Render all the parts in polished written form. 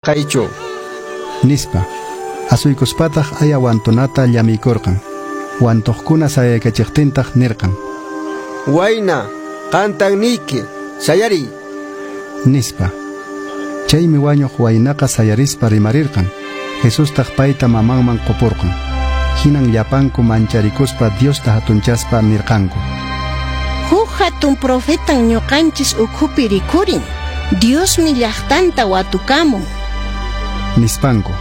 Kaychu. Nispa. Asuykuspataq aya wantunata llamiykurqan. Wantuqkuna sayaykachiqtintaq nirqan: Wayna, qantan niyki, sayariy. Nispa. Chaymi wañuq waynaqa sayarispa rimarirqan. Jesustaq payta mamanman qupurqan. Hinan llapanku mancharikuspa Diosta hatunchaspa nirqanku: Huk hatun profetan ñuqanchis ukhupi rikhurin. Diosmi llaqtanta watukamun. Nispanku.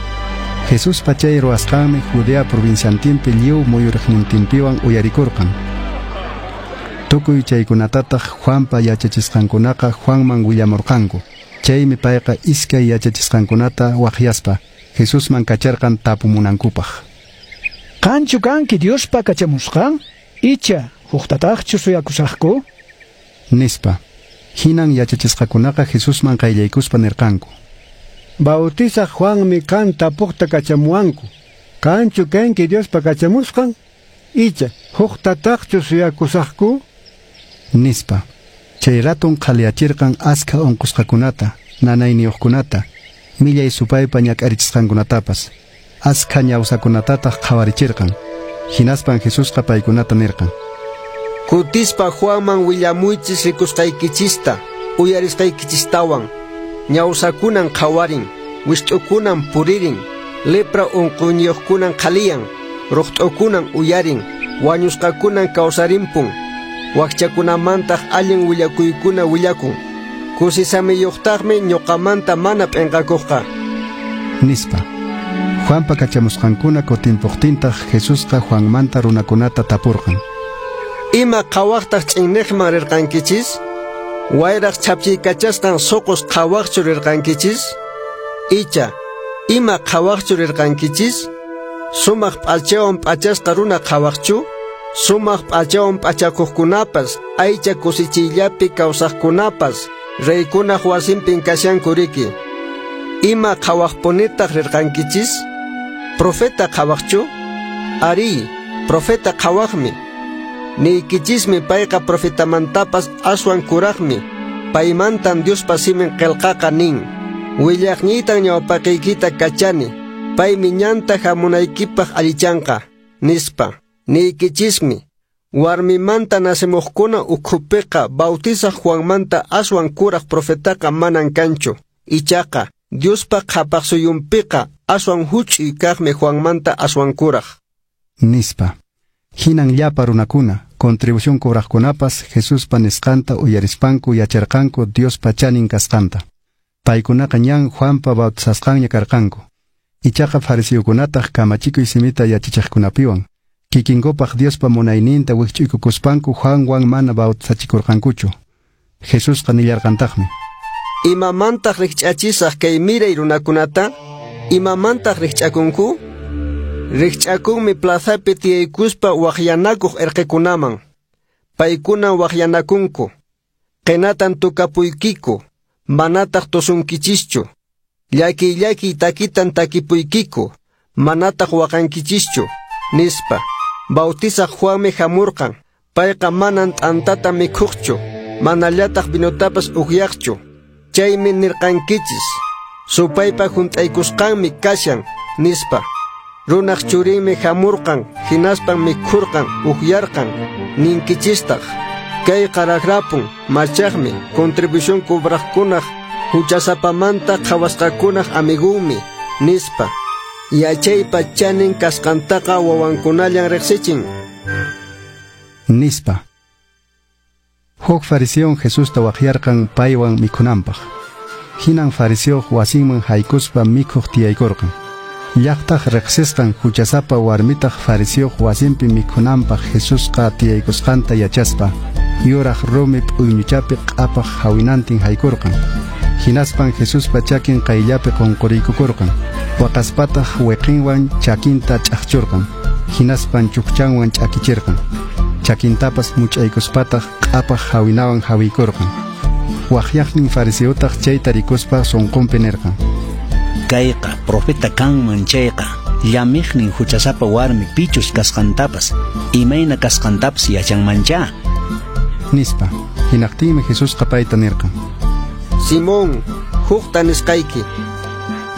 Jesuspa chay ruwasqanmi Judea provinciantinpi lliw muyuriqnintinpiwan uyarikurqan. Tukuy chaykunatataq Juanpa yachachisqankunaqa Juanman willamurqanku. Chaymi payqa iskay yachachisqankunata waqyaspa Jesusman kacharqan tapumunankupaq. Qanchu kanki Diospa kachamusqan? Icha huktataqchu suyakusaqku? Nispa. Hinan yachachisqakunaqa Jesusman qayllaykuspa nirqanku: Bautizaq Juanmi qan tapuqta kachamuwanku. Qanchu kanki Diospa kachamusqan? Icha huktataqchu suyakusaqku? Nispa. Chay raton qhaliyachirqan askha unqusqakunata, nanayniyuqkunata, millay supaypa ñak'arichisqankunatapas. Askha ñawsakunatataq qhawarichirqan. Hinaspan Jesusqa paykunata nirqan: Kutispa Juanman willamuychis rikusqaykichista, uyarisqaykichistawan. Ñawsakunan qhawarin, wist'ukunan puririn, lepra unquyniyuqkunan qhaliyan, ruqt'ukunan uyarin, wañusqakunan kawsarimpun, wakchakunamantaq allin willakuykuna willakun. Kusisamiyuqtaqmi ñuqamanta mana p'inqakuqqa. Nispa. Juanpa kachamusqankuna kutimpuqtintaq Jesusqa Juanmanta runakunata tapurqan: Ima qhawaqtaq ch'inniqman rirqankichis? Wayraq chhapchiykachasqan suqus qhawaqchu rirqankichis? Icha, ima qhawaqchu rirqankichis? Sumaq p'achawan p'achasqa runa qhawaqchu? Sumaq p'achawan p'achakuqkunapas, aycha kusichiyllapi kawsaqkunapas, reykunaq wasinpin kashanku riki. Ima qhawaqpunitaq rirqankichis? Profeta qhawaqchu? Ari, profeta qhawaqmi. Niykichismi payqa profetamantapas aswan kuraqmi. Paymantan Diospa simin qillqaqa nin: Willaqniytan ñawpaqiykita kachani, paymi ñanta hamunaykipaq allichanqa, nispa. Niykichismi, warmimanta nacemuqkuna ukhupiqa Bautizaq Juanmanta aswan kuraq profetaqa manan kanchu. Ichaqa Diospa qhapaqsuyunpiqa aswan huch'uy kaqmi Juanmanta aswan kuraq. Nispa. Hinan llapa runakuna, contribución cobraqkunapas Jesuspa nisqanta uyarispanku yacharqanku Diospa chanin kasqanta. Paykunaqa ñan Juanpa bautizasqanña karqanku. Ichaqa fariseokunataq kamachikuy simita yachachiqkunapiwan kikinkupaq Diospa munayninta wikch'uykukuspanku Juanwan mana bautizachikurqankuchu. Jesusqa nillarqantaqmi: Imamantaq rikch'achisaq kay miray runakunata? Imamantaq rikch'akunku? Rikch'akunmi plazapi tiyaykuspa waqyanakuq erqekunaman. Paykuna waqyanakunku. Qinatan tukapuykiku, manataq tusunkichischu. Llakiy llakiy takitan takipuykiku, manataq waqankichischu. Nispa. Bautizaq Juanmi hamurqan. Payqa manan t'antata mikhuqchu, manallataq vinotapas ukyaqchu. Chaymi nirqankichis: Supaypa hunt'aykusqanmi kashan, nispa. Runaq churinmi hamurqan, hinaspan mikhurqan, ukyarqan. Ninkichistaq: Kayqa raqrapun, machaqmi, contribución cobraqkunaq, huchasapamanta qhawasqakunaq amigunmi, nispa. Yachaypa chanin kasqantaqa wawankunallan riqsichin. Nispa. Huk fariseon Jesusta waqyarqan paywan mikhunanpaq. Hinan fariseoq wasinman haykuspa mikhuq tiyaykurqan. Llaqtaq riqsisqan huchasapa warmitaq fariseoq wasinpi mikhunanpaq Jesusqa tiyaykusqanta yachaspa yuraq rumi p'uyñuchapi q'apaq hawinantin haykurqan. Hinaspan Jesuspa chakin qayllapi qunquriykukurqan. Waqaspataq wiqinwan chakinta ch'aqchurqan. Hinaspan chukchanwan ch'akichirqan. Chakintapas much'aykuspataq q'apaq hawinawan hawiykurqan. Waqyaqnin fariseotaq chayta rikuspa sunqunpi nirqan: Kayqa profeta kanman chayqa, llamiqnin huchasapa warmi pichus kasqantapas, imayna kasqantapas yachanmancha. Nispa. Hinaqtinmi Jesusqa payta nirqan: Simón, hukta nisqayki.